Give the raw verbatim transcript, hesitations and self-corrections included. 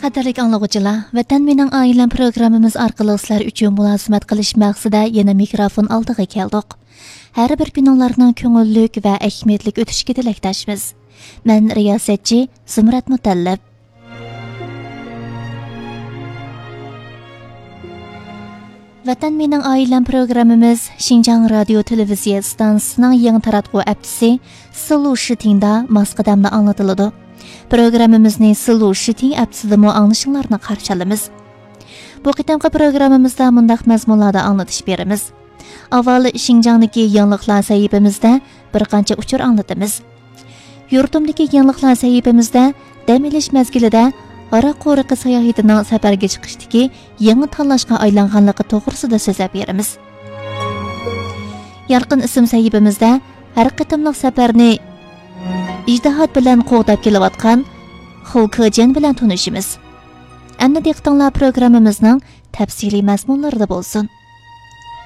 قەدىرلىك ئاڭلىغۇچىلار، ۋەتەن مېنىڭ ئائىلەم پروگراممىمىز ئارقىلىق سىلەر ئۈچۈن مۇلازىمەت قىلىش مەقسىتىدە يەنە مىكروفون ئالدىغا كەلدۇق. ھەر بىر كۈنۈڭلارنىڭ كۆڭۈللۈك ۋە ئەھمىيەتلىك ئۆتۈشىگە تىلەكداشمىز. مەن رىياسەتچى زۇمرەت مۇتەللىپ. ۋەتەن مېنىڭ ئائىلەم پروگراممىمىز شىنجاڭ رادىيو تېلېۋىزىيە ئىستانسىسىنىڭ يېڭى تاراتقۇ ھەپتىسى سىلۇ شىتىڭدا ماس قەدەمدە ئاڭلىتىلىدۇ. پروگراممىمىزنى سىلۇ شىتىڭ ھەپتىسىدىمۇ ئاڭلىشىڭلارنى قارشى ئالىمىز. بۇ قېتىمقى پروگراممىمىزدا مۇنداق مەزمۇنلاردا ئاڭلىتىش بېرىمىز. ئاۋۋال شىنجاڭدىكى يېڭىلىقلار سەھىپىمىزدە بىر قانچە ئۇچۇر ئاڭلىتىمىز. يۇرتۇمدىكى يېڭىلىقلار سەھىپىمىزدە دەم ئېلىش مەزگىلىدە ھاراق قورۇقى ساياھىتىنىڭ سەپەرگە چىقىشتىكى يېڭى تاللاشقا ئايلانغانلىقى توغرىسىدا سۆزلەپ بېرىمىز. يارقىن ئىسىم سەھىپىمىزدە ھەر قېتىملىق سەپەرنى ئىجتىھات بىلەن قوغداپ كېلىۋاتقان خۇ كېجيەن بىلەن تونۇشىمىز. ئەمدى دىققىتىڭلار پروگراممىمىزنىڭ تەپسىلىي مەزمۇنلىرىدا بولسۇن.